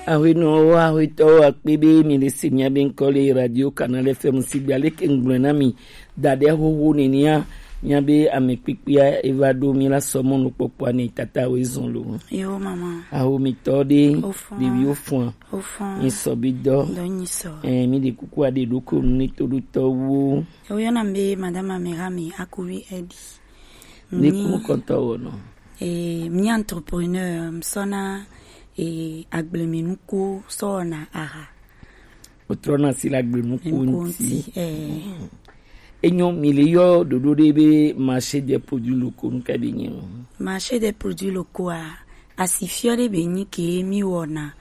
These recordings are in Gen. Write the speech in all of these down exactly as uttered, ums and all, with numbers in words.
Ahwenɔwo, ahwetɔwo, akpe be mi le se mia be ŋkɔ le Radio Canal F M sigbe. Aleke ŋgblɔe na mi da ɖe xoxo nenea, mia be ame kpekpea eva ɖo mi la sɔ mɔnukpɔkpɔa ne tata wo ezɔn lo. Yo, mama. Ahomitɔ ɖe, Ofɔn. Ɖeviwo fɔa. Ofɔn. Nyisɔ bi dɔ. Dɔ nyisɔ. Eh, mi ɖe kuku aɖe ɖo ko nu ne toɖotɔwo. Yo, yɔna be Madame Amerami Akuvi Edi. Ne Mi- kunu kɔntɔ wɔ nɔ. Eh, mi entrepreneur, mi sɔna, eh, agblemenuku sɔna aha. Wotrɔna asi le agblenuku Nuku ŋuti. Ŋuti, eh. Enyo, mi le yɔ ɖoɖo ɖe be marché des produits locaux, nu ka be nyi o? Marché des produits locaux a, asifiɔ ɖe be nyi ke mi wɔna,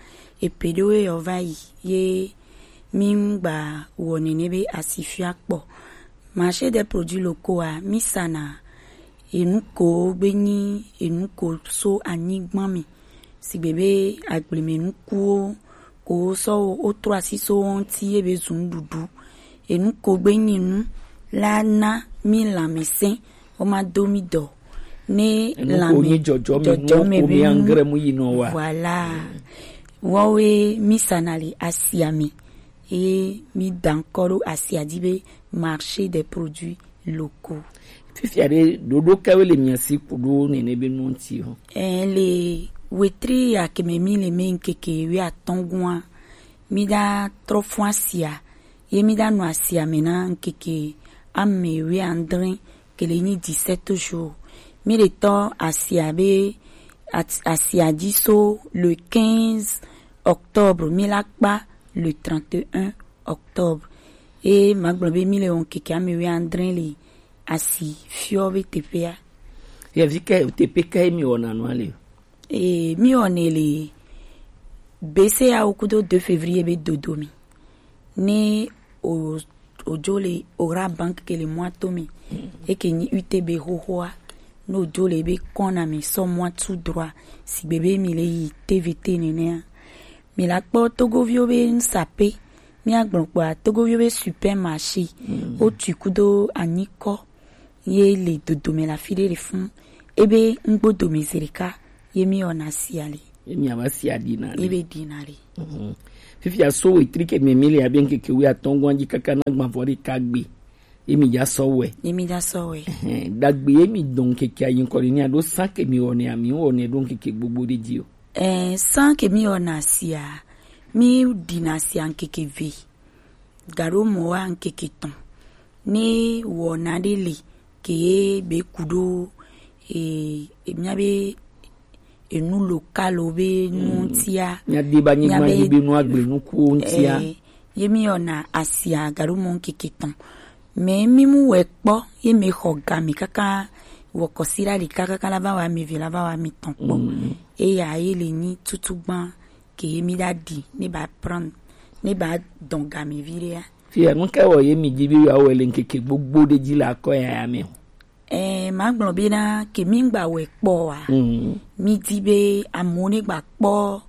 epe ɖewo yɔ va yi, ye mi ŋgba wɔ nene be asifiɔ kpɔ. Marché des produits locaux a, mi sana enuko gbe nyi enuko so anyigba mi. Sigbe be agblemenukuwo ko sɔ wo, wotrɔ asi so wo ŋuti ye be zu nuɖuɖu. Enuko gbe nyi nu la na mi lãmesẽ, wo ma do mi dɔ. Ne Enuko lãme-, nyi dzɔdzɔme nu, dzɔdzɔme ko be mi nu. Angre mu yi nɔ wa. Voilà. Wɔwoe mi sana le asia me. Ye mi da ŋkɔ ɖo asia dzi be marché des produits locaux. Fifia ɖe, ɖoɖo kawo le mia si ku ɖo nene be nu ŋuti o? Eh, le wetri ya ke me mi le me ŋkeke wuiatɔ̃ gua, mi da trɔ fɔn asia, ye mi da nɔ asia me na ŋkeke ame wuiadre ke le nyi dix-sept jours. Mi le tɔ asia be at-, asia dzi so le quinze octobre, mi la kpa le trente et un octobre. E ma gblɔ be mi le wɔn keke ame wuiadre le asi fiɔ be teƒea. Yevi ke teƒe ke mi wɔna nua le? E mi wɔnɛ le B C A O kudo deux février be dodo mi. Ne o, o jo le Ora Bank ke le mɔa to mi. Eke nyi U T B xoxoa. Ne o jo le be kɔna mi sɔ mɔa tout droit. Sigbe be mi le yi T V T nenea. Mi la kpɔ Togoviwo be nusape. Mi agblɔ kpɔa, Togoviwo be supermarché. Mm. O tui kudo anyikɔ. Ye le dodome le afi ɖe le fun. Ebe ŋgbo dome zi ɖeka. Ye mi wɔna sia le. Ye mi ava sia ɖina le. Ebe ɖina le. Mhm. Fifia so wetri ke me mi le abe ŋkeke wuiatɔ̃ gɔ̃a dzi kaka na gbãvɔ ɖeka gbe. Ye mi dza sɔ wɛ. Ye mi dza sɔ wɛ. Ehɛn, dagbe ye mi dɔn ŋkeke ayi ŋkɔ ɖe ni aɖo san ke mi wɔnɛ, ami wɔnɛ ɖo ŋkeke gbogbo ɖe dzi o. Eh, san ke mi wɔna sia, mi ɖina sia ŋkeke ve. Gaɖo mɔ wa ŋkeke tɔn. Ne wɔna ɖe le ke ye be ku ɖo, e, e, mia be enu local be nu ŋutia. Mia de ba nyigba dzi be nu agble nukuwo ŋutia. Eh, ye mi wɔna asia gaɖo mɔ ŋkeke tɔn. Mais mi mu wɛ kpɔ, ye me xɔ ga mi kaka wɔ kɔsi ɖa ɖeka kaka la va wa mi ve la va wa mi tɔn kpɔ. Mm. Eya ye le nyi tutu gban ke ye mi ɖa ɖi, ne ba prendre, ne ba dɔn ga mi vi ɖea. Fia nu ke wɔ ye mi di be ya wɔ le ŋkeke gbogbo ɖe dzi le akɔ ya ya me o. Eh, ma gblɔ be na ke mi ŋgba wɛ kpɔ wa. Mm. Mi di be amewo ne gba kpɔ,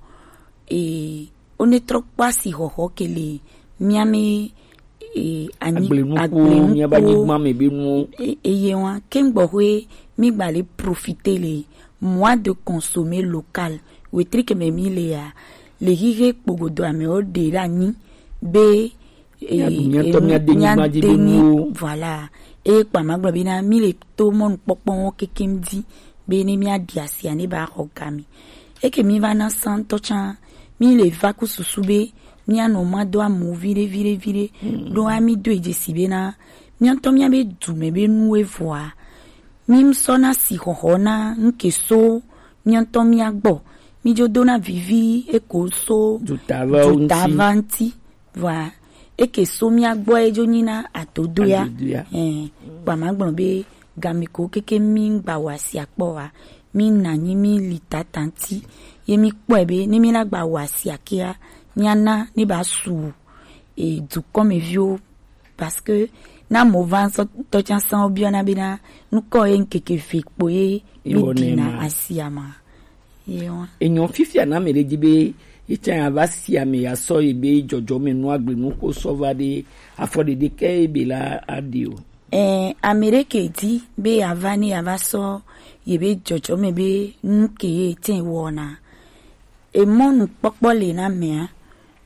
eh, wo ne trɔ kpɔ asi xɔxɔ ke le mia me, eh, anyi-, agble nukuwo, agble nukuwo. Mia ba nyigba me be nuwo. E-, eye wa, ke ŋgbɔ hoe mi gba le profiter le mois de consommer local. Wetri ke me mi le ya, le hihe kpogodo amewo ɖe ɖe anyi be, eh, mia ɖu mia tɔ, mia de nyigba dzi be nuwo. Voilà. Eye kpa ma gblɔ be na mi le to mɔnukpɔkpɔ wo kekem di be ne mia ɖi asia ne ba xɔ ga mi. Eke mi va na santɔ tsã, mi le va ku susu be mia nɔ ma do amu viɖe, viɖe, viɖe. Mm. Ɖo ami do edze si be na mia ŋutɔ mia be du me be nuwe vɔa. Mi ŋsɔ na si xɔxɔ na ŋke so mia ŋutɔ mia gbɔ. Mi dzo do na vivi eko so dutava ŋuti. Dutava ŋuti. Vɔa, eke so mia gbɔ edzo nyi na adodoea. Adodoea. Ɛɛ, kpa ma gblɔ be game ko keke mi ŋgba wɔ asia kpɔ wa, mi na nyi mi li tata ŋti. Ye mi kpɔe be ne mi la gba wɔ asia kea, mia na ne ba su, e, dukɔmeviwo. Parce que na mo va sɔ tɔ tsa san wo biɔ na be na nukɔ ye ŋkeke ve kpo ye mi dina asia ma. Ye wa. Enyɔ fifia na ame ɖe dzi be ye tsã ya va si ame ya sɔ ye be dzɔdzɔme nu agble nu ko sɔ va ɖe afɔ ɖeɖe ke ye be la aɖe o. Ɛ, ame ɖe ke di be ya va ne ya va sɔ ye be dzɔdzɔme be nu ke ye tsã wɔna. emɔnukpɔkpɔ le na mea,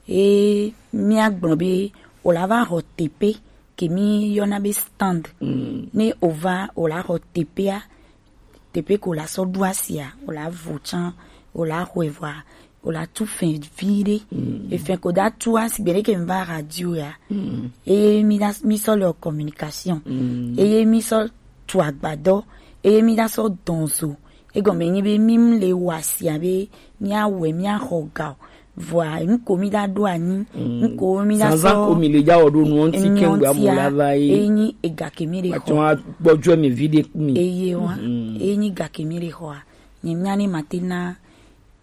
e mia gblɔ be o la va xɔ tepe ke mi yɔna be stand. Ne o va o la xɔ tepea, tepe ko la sɔ ɖu asia, o la vo tsã, o la xɔe vɔa, o la tu fɛn vi ɖe. Efɛn ko da tua sigbe ɖe ke mi va radio ya, eye mi da mi sɔ le communication, eye mi sɔ tu agbadɔ, eye mi da sɔ dɔn zo. Egɔme nyi be mi le wa sia be mi awɛ mi axɔ ga o. Vɔa nuko mi da ɖo anyi, nuko mi da sɔ ko mi le ja wɔ ɖo nuɔ ŋti kɛŋgbe amu la va ye. Enyi ega ke mi le xɔ. Atsɔ gbɔdzɔ mi vi ɖe mi. Eye wa, enyi ga ke mi le xɔa. Nye mi ane ma te na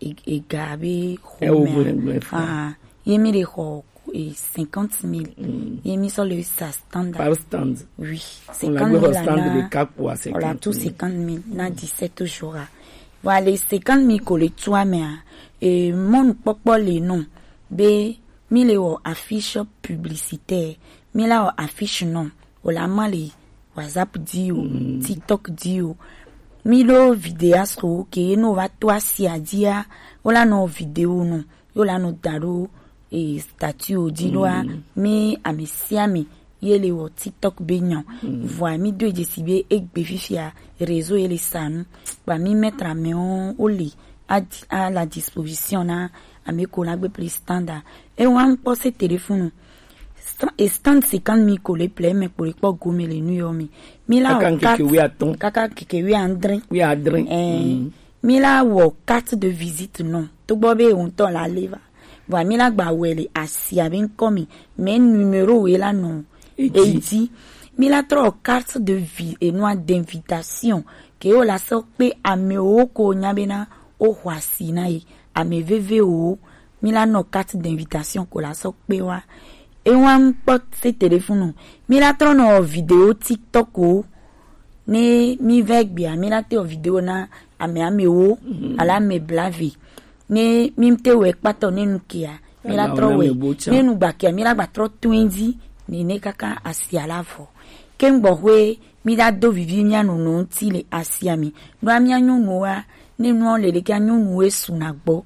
e- ega be xɔ mea. Ye mi le xɔ e cinquante mille. Ye mi sɔ le sa standard. Par stand. Oui. Cinquante mille ana. Stand de quatre pour cinquante mille. Voilà, tout cinquante mille na dix-sept jours. Voilà, cinquante mille ko le tua mea. E mɔnukpɔkpɔ le nɔ be mi le wɔ affiche publicitaire, mi la wɔ affiche nɔ, o la ma le WhatsApp di o, TikTok di o. Mi ɖo vidéaste ke ye no va to asia dia, o la nɔ vidéo nɔ, yo la nɔ da ɖo e statut o di ɖoa, mi ame sia ame ye le wɔ TikTok be nyɔ. Vɔa mi do e dzesi be egbe fifia réseau ye le sa nu. Ba mi mettre à main o le à, à la disposition na ame ko la gbe plus standard. E wa n kpɔ se téléphone. Sta- e stand cinquante mille ko le ple me kpo le kpɔ gome le nu yɔ mi. Mi la kaka o nkeke carte wi atɔn. Kaka nkeke wi andre. Wi adre. Eh, mi la wɔ carte de visite nɔ. To gbɔ be o ŋutɔ la le va. Vɔa mi la gba wɛ le asia be ŋkɔ mi. Mais numéro we la nɔ. Edi. Edi. Mi la trɔ carte de vi enua d'invitation. Ke o la sɔ kpe amewo ko nya be na o xɔ asi na ye. Ame veve o. Mi la nɔ carte d'invitation ko la sɔ kpe wa. E wa n kpɔ se téléphone. Mi la trɔ nɔ vidéo TikTok o. Ne mi vɛ gbea, mi la te wɔ vidéo na ame amewo, ala ame blave. Ne mi te wɛ kpatɔ ne nu kia, mi la trɔ wɛ. Ne nu gba kia, mi la gba trɔ tuendi, ne ne kaka asia la vɔ. Ke n gbɔ hwe, mi la do vivi mi anɔ nɔ ŋti le asia mi. Ɖo mi anyɔnuwa, ne nua le le kia nyɔnuwe su na gbɔ.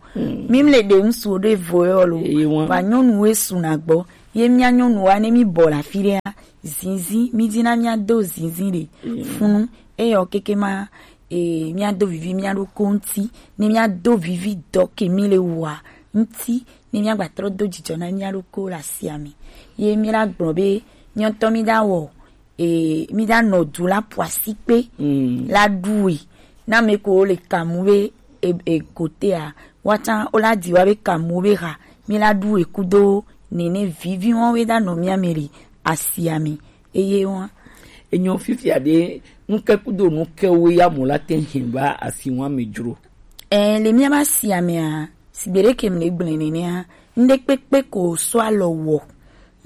Mi le de ŋsu ɖe vo yɔ lo. Eye wa. Ba nyɔnuwe su na gbɔ. Ye mi anyɔnuwa ne mi bɔ la fi ɖe a. Zinzin, mi dina mi ado zinzin ɖe. Funu, eyɔ keke ma, e, mi ado vivi mi aɖo ko ŋti, ne mi ado vivi dɔ ke mi le wa ŋti, ne mi agba trɔ do jijɔ na mi aɖo ko la sia mi. Ye mi la gblɔ be, mi ŋutɔ mi da wɔ, e, mi da nɔ du la ƒo asi kpe, la ɖu e. Na me ko le kamu be, e, e, kotea, wa tsã, o la di wa be kamu be ha, mi la ɖu e kudo, nene vivi wɔn we da nɔ mi ame le asia mi. Eye wa. Enyo fifia ɖe, nuke kudo nuke wo ya mo la te hin va asi wa me dzro. E, le mi aba asia mea, sigbe ɖe ke mi le gblẽ nenea, ŋɖe kpekpe ko sɔ alɔ wɔ,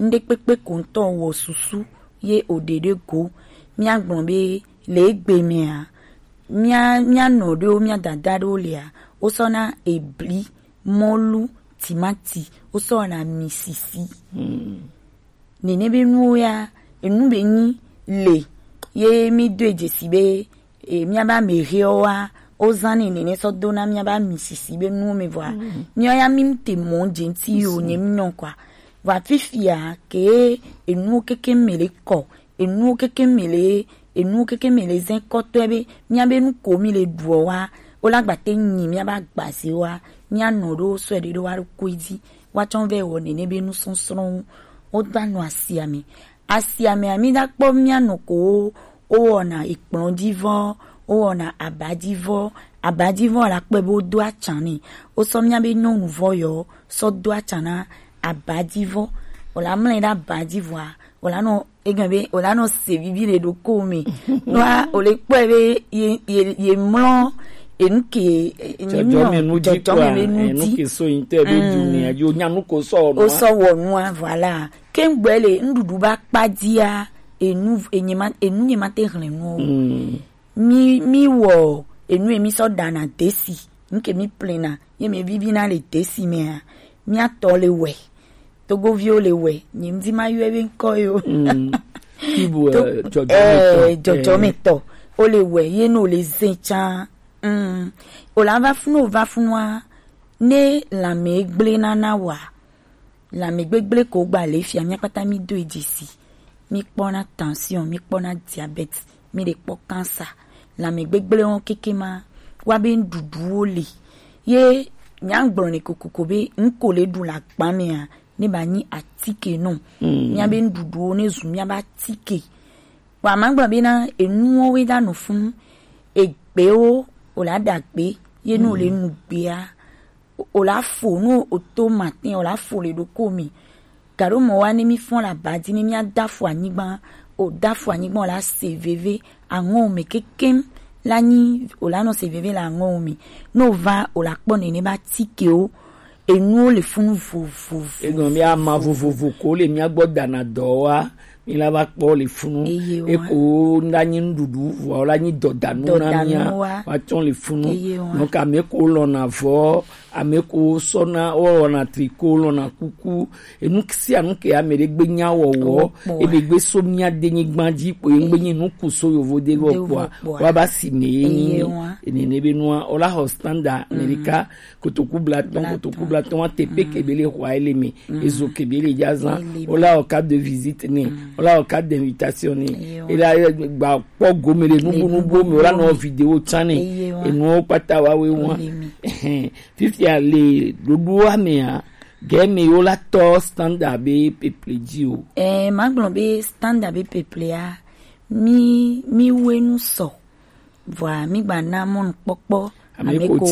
ŋɖe kpekpe ko ŋutɔ wɔ susu ye o ɖe ɖe go. Mia gblɔ be le egbe mea, mia, mia nɔ ɖewo, mia dada ɖewo lea, wo sɔ na ebli, mɔlu, timati, wo sɔ na misisi. Nene be nuwo ya, enu be nyi le, ye mi do e dzesi be, e, miaba ame hewo wa, wo zan ne nene sɔ do na miaba ami sisi be nuwo me vɔa. Miɔ ya mi te mɔ dze ŋti yo nye mi nyɔ kwa. Vɔa fifia ke enuwo keke me le kɔ, enuwo keke me le, enuwo keke me le zɛn kɔtɔe be, miabe nu ko mi le ɖuɔ wa, wo la gba te nyi miaba agbaze wa, mia nɔ ɖo sɔe ɖe ɖo wa ɖo koe dzi. Woatsɔ vɛ wɔ nene be nusɔsrɔ̃wo. Wogba nɔ asia me. Asia mea, mi da kpɔ mia nɔ ko wo, wowɔna ekplɔ̃ dzi vɔ, wowɔna aba dzi vɔ. Aba dzi vɔ la kpɔe be wodo atsa nɛ. Wosɔ mia be nyɔnu vɔ yɔ sɔ do atsa na aba dzi vɔ. Wòla mlɔe ɖe aba dzi vɔa, wòla nɔ egɔme be wòla nɔ se vivi le ɖokɔ me. Nua wòle kpɔe be ye, ye, ye mlɔ enu ke, ye mlɔ dzɔdzɔme nu dzi, dzɔdzɔme kpɔa, nu enu dzi. Ke so yin te be du ne ajo nya nu ko sɔ wɔ nua. Wosɔ wɔ nua, voilà. Ke ŋgbɛ le nuɖuɖu ba kpa dzia, enu, enye ma, enu nye ma te hlẽ nuwo. Mi, mi wɔ enu ye mi sɔ ɖana desi, nu ke mi plena, ye mi vivina le desi mea, mia tɔ le wɛ. Togoviwo le wɛ, nye ŋdi ma yɔe be ŋkɔ yo. Kibu, To-, eh, dzɔdzɔmetɔ. Eh, dzɔdzɔmetɔ. Wo le wɛ, ye no le zin tsa. Mm. O la va funu, o va funua, Ne lanmɛ gblẽ na na wa, lanmɛ gbegblẽ ko gba le fia, mía kpata mí do e dzesi. Mí kpɔna tension, mí kpɔna diabète, mí le kpɔ cancer. Lanmɛ gbegblẽ wo keke ma wa be nuɖuɖuwo le. Ye mía gblɔ ne kokoko be nu ko le ɖu le agba mea, ne ba nyi atike nɔ. Mía be nuɖuɖuwo ne zu mía be atike. Wa ma gblɔ be na enuwo we da nɔ funu, egbewo o la ɖa gbe, ye nu le nu gbea, o la fo nu o to matin o la fo le ɖoko mi. Gaɖo mɔ wa ne mi fɔn la ba di ne mía da fo anyigba, o da fo anyigba o la se veve, aŋɔ me kekem la nyi o la nɔ se veve la aŋɔ me. No va o la kpɔ nene ba tikewo, enuwo le funu vovovo. Egɔn be ama vovovo ko le mía gbɔ dana dɔ wa, mi la va kpɔ le funu. Eye wa. Eko na nyi nuɖuɖu vɔ la nyi dɔdanu na mía. Dɔdanu wa. Wa tsɔ le funu. Eye wa. Donc ame ko lɔna vɔ, ame ko sɔna, wɔna tricot, lɔna kuku, enu sia nu ke ame ɖe gbe nya wɔwɔ, ebe gbe so mía denyigba dzi kpo ye gbe nyi nu ku so yovo de vɔ kpoa, wa ba si me ye nyi. Eye wa. Enene be nua, o la xɔ standard Amerika, kotoku blatɔn, kotoku blatɔn wa tepe ke be le xɔ ele me, ezo ke be le dza zan, o la o carte de visite ne, o la o carte d'invitation ne, e la gba kpɔ gome le nubu nubu me, o la nɔ vidéo tsan ne, enuwo kpata wa we wa. Fifia le ɖoɖoa mea, gɛ me yo la tɔ standard be peple dzi o. Eh, ma gblɔ be standard be peple a, mi, mi we nu sɔ. Vɔa, mi gba na mɔnukpɔkpɔ ame ko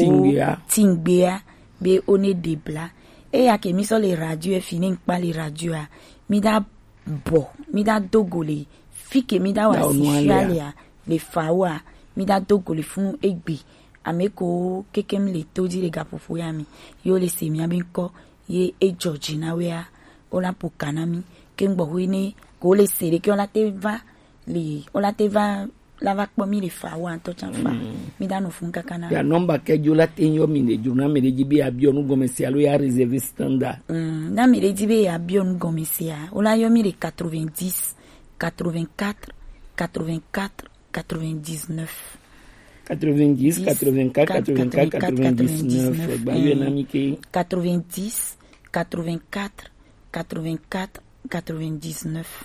tingbea be o ne ɖe bla. Eya ke mi sɔ le radio e fi ne ŋkpa le radio a, mi da bɔ, mi da do go le fi ke mi da wa si fia le a, le fa wa, mi da do go le funu egbe. Ame ko kekem le to dzi le gaƒoƒo ya me, ye wo le se mía be ŋkɔ, ye e dzɔ dzi na wea, wo la ƒo ka na mí. Ke ŋgbɔ hui ne ko le se ɖe ke wo la te va li, wo la te va la va kpɔ mí le fa wa ŋutɔ tsã fa. Mí da nɔ fun kaka na. Ya nɔmba ke dzo la te yɔ mi le dzo na me ɖe dzi be ya biɔ nu gɔme se alo ya réserver standard. Mm, na me ɖe dzi be ya biɔ nu gɔme se a, wo la yɔ mí le quatre-vingt-dix, quatre-vingt-quatre, quatre-vingt-quatre, quatre-vingt-dix-neuf. Quatre-vingt-dix, quatre-vingt-quatre, quatre-vingt-quatre, quatre-vingt-dix-neuf. Gba yɔ na mi ke. Quatre-vingt-dix, quatre-vingt-quatre, quatre-vingt-quatre, quatre-vingt-dix-neuf.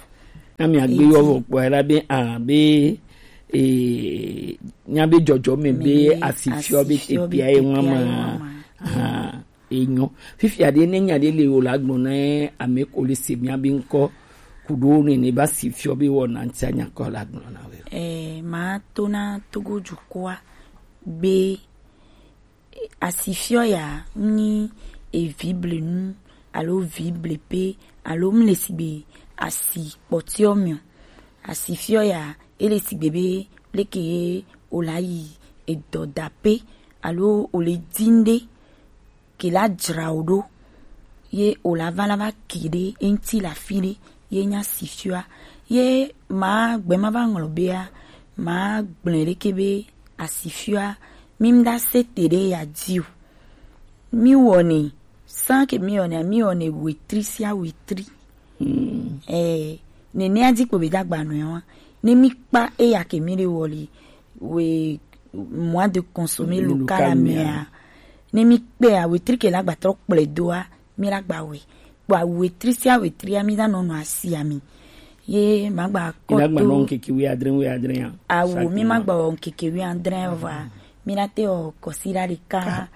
Na mi agbe yɔ vɔ kpɔ la be a be e nya be dzɔdzɔ me be asifiɔ be te pia ye ŋma ma. Enyo. Fifia ɖe ne nya ɖe le o la gblɔ na ame ko le se mía be ŋkɔ ku ɖo ne ne ba si fiɔ be wɔ na ŋtia nya kɔ la gblɔ na we. Eh, ma to na Togo dukɔa be asifiɔ ya nyi evi blenu alo vi blepe alo mle sigbe asi kpɔtiɔ miɔ. Asifiɔ ya ele sigbe be leke ye o la yi edɔ dape alo o le din ɖe ke la dzra wò ɖo, ye wò la va la va ke ɖe eŋuti le afi ɖe, ye nye asifiɔa. Ye ma gbe ma va ŋlɔ bea, ma gblɔe ɖeke be asifiɔa, mi ŋda se te ɖe ya dzi o. Mi wɔnɛ, san ke mi wɔnɛ, mi wɔnɛ wetri sia wetri. Hmm. Eh, nenea dzi kpo be dagba nɔe wa. Ne mi kpa eya ke mi ɖe wɔ li, we mois de consommer local mea. Ne mi kpea, wetri ke la gba trɔ kplɔe doa, mi la gba wɛ. Kpɔa wetri sia wetria, mi la nɔ nɔ asia mi. Ye ma gba kɔ to. Mi la gba nɔ ŋkeke wi adre, wi adre ya. Awo, mi ma gba wɔ ŋkeke wi adre vɔa. Mi la te wɔ kɔsiɖa ɖeka,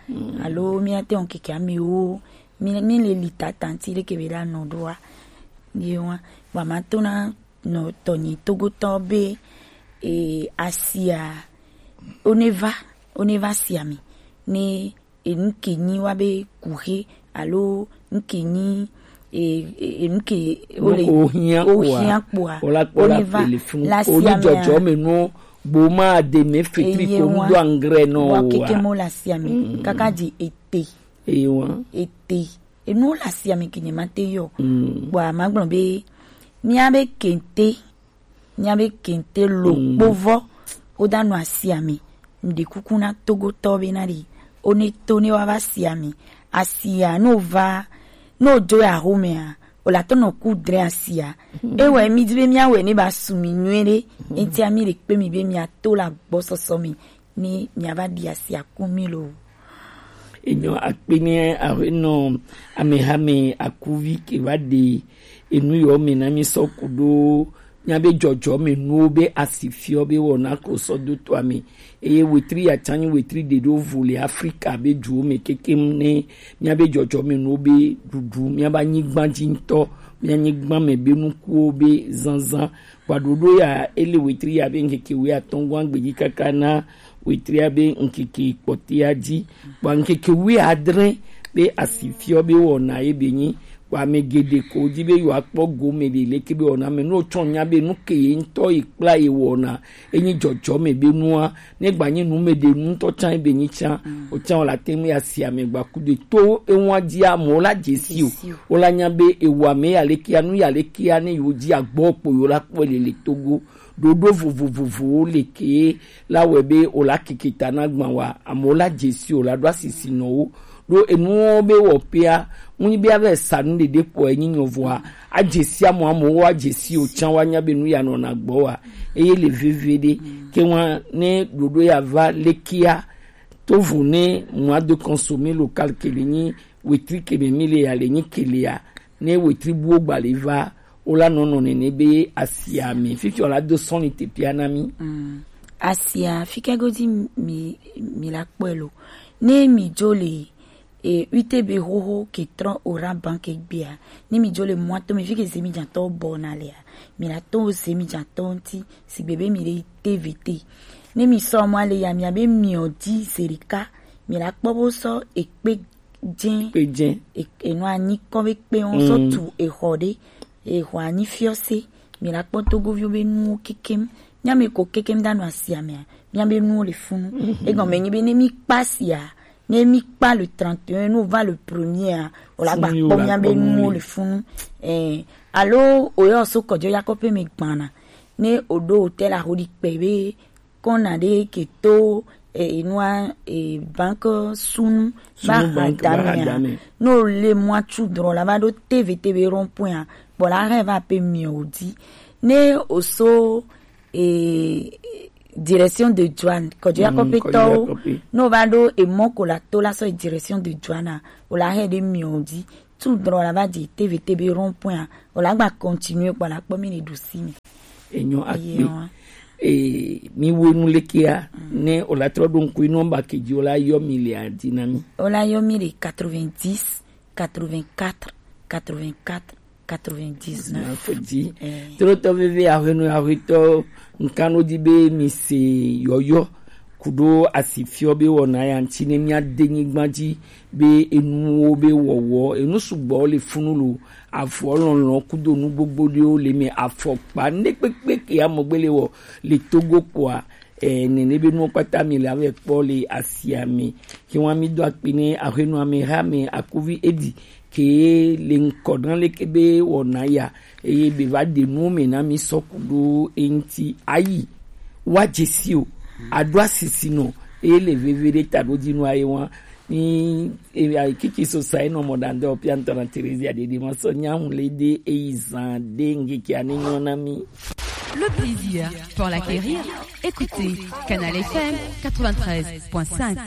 alo mi la te wɔ ŋkeke amewo. Mi, mi le li tata ŋti ɖeke be la nɔ ɖoa. Ye wa, wa ma to na nɔ tɔnyi togotɔ be, e, asia, o ne va, o ne va asia mi. Ne, e, nu ke nyi wa be kuxe, alo nu ke nyi, e, e, e, nu ke, o le, o hiã kpoa, o la kpɔ la pele funu, o ni dzɔdzɔ me nu, bo ma de me fetri ko nu do angre nɔ wa. Keke mo la asia mi, kaka di ete. Eye wa. Ete. Enuwo le asia mi ke nye ma te yɔ. Mm. Kpɔa ma gblɔ be, mía be kente, mía be kente lo kpovɔ, wo da nɔ asia mi. Ŋɖe kuku na togotɔ be na ɖi, o ne to ne wa va asia mi. Asia, no va, no dzo ya xomea, o la tɔ nɔ ku dre asia. E wɛ mi di be mía wɛ ne ba su mi nyuie ɖe. Etia mi le kpe mi be mía to la gbɔsɔsɔ mi. Ni mía va ɖi asia ku mi lo. Enyo akpe ne aƒenɔ amehame akuvi ke va ɖe enu yɔ me na mi sɔ ku ɖo míabe dzɔdzɔme nuwo be asifiɔ be wɔna ko sɔ do toa me. Eye wetri ya tsa nyi wetri ɖe ɖo vo le Afrika be duwo me kekem ne míabe dzɔdzɔme nuwo be ɖuɖu, míabe anyigba dzi ŋutɔ, míabe anyigba me be nukuwo be zazã. Vɔa ɖoɖo ya, ele wetri ya be ŋkeke wuiatɔ̃ gɔ̃a gbe dzi kaka na wetria be ŋkeke kpɔtɔea dzi. Vɔa ŋkeke wuiadre be asifiɔ be wɔna ye be nyi. Vɔa ame geɖe ko di be yewoakpɔ gome ɖe leke be wɔna me. Ne wotsɔ nya be nu ke ye ŋutɔ ye kpla ye wɔna, enyi dzɔdzɔme be nua, ne gba nyi nu me ɖe nu ŋutɔ tsã ye be nyi tsã, o tsã wòla te ŋu ya si ame gba ku de to eŋua dzi amewo la dze si o. Dze si o. Wola nya be ewɔ ame ya lekea, nu ya lekea, ne yewo dzi agbɔ kpo yewo la kpɔe le le Togo. Ɖoɖo vovovovowo le ke la wɔe be wòla keke ta na gbã wa, amewo la dze si o, la ɖo asisi nɔ wo. Ɖo enuwo be wɔƒea, ŋu nyi be ava sa nu ɖeɖe kpɔ enyi nyɔ vɔa, adze si amewo, amewo adze si o tsã woanya be nu ya nɔna gbɔ wa. Eye le veve ɖe, ke wa ne ɖoɖo ya va lekea, to vo ne mois de consommer local ke le nyi wetri ke me mi le ya le nyi ke le ya, ne wetri buwo gba le va, wola nɔ nɔ nene be asia me. Fifi wòla do sɔn ni tepia na mi. Mm. Asia, fike godi mi, mi la kpɔe lo. Ne mi dzo le, e, U T B xoxo ke trɔ Orange Bank gbea, ne mi dzo le mɔa to me, fike zemi dzatɔ bɔ na lea, mi la to zemi dzatɔ ŋuti, sigbe be mi le T V T. Ne mi sɔ mɔa le ya, mi abe miɔ di zerika, mi la kpɔ bo sɔ ekpe dze. Kpe dze. E, enɔ anyi kɔ be kpe wɔn sɔ tu exɔ ɖe. Exɔ anyi fiɔse. Mi la kpɔ Togoviwo be nuwo kekem. Mia me ko kekem da nɔ asia mea. Mia be nuwo le funu. Egɔme nyi be ne mi kpa sia, ne mi kpa le trente et un, ne o va le premier a, o la gba kpɔ mia be nuwo le funu. Eh, alo o yɔ so kɔjɔ yakɔ pe me gbana. Ne o ɖo hotel a xo ɖi kpe be kɔna ɖe ke to, e, enua, e, banque sunu ba hadamea. No le mwa tu drɔ la va ɖo T V T B rond-point a, kpɔ la hɛ va pe mi o di. Ne o so, e, direction de douane, kɔjɔ yakɔ pe tɔwo, no va ɖo e mɔ ko la to la sɔ e direction de douane a, o la hɛ ɖe mi o di. Tu drɔ la va di T V T B rond-point a, o la gba continuer kpɔ la kpɔ mi ne ɖu si mi. Enyo akpe. E, mi wo nu lekea, ne o la trɔ ɖo ŋku nɔmba ke dzi o la yɔ mi le adi na mi. O la yɔ mi le quatre-vingt-dix, quatre-vingt-quatre, quatre-vingt-quatre, quatre-vingt-dix-neuf. Dix-neuf dzi. Eh. Trotɔ veve ahwenu ahwetɔ, nkan no di be mi se yɔyɔ kuɖo asifiɔ be wɔna ya ŋuti ne mia de nyigba dzi be enuwo be wɔwɔ, enu sugbɔ le funu lo, avɔ lɔlɔ kudo nu gbogbo ɖewo le me, afɔkpa, ne kpekpe ke amɔgbe le wɔ le Togo kpɔa, e, nene be nuwo kpata mi le ave kpɔ le asia me. Ke wa mi do akpi ne ahwenu ame ha me akuvi edi ke le ŋkɔ ɖe leke be wɔna ya, eye be va ɖe nuwo me na mi sɔ ku ɖo eŋuti ayi. Wa dze si o, aɖo asisi nɔ, eye le veve ɖe ta ɖo dzi nɔ aye wa. Ni, e, ayi kiki so sa enɔ mɔ ɖandɔ pia ŋutɔ na Terezia ɖeɖe ma sɔ nya ŋu le de eyi zan de ŋgeke ane nyɔ na mi. Le plaisir pour l'acquérir, écoutez Canal F M quatre-vingt-treize point cinq.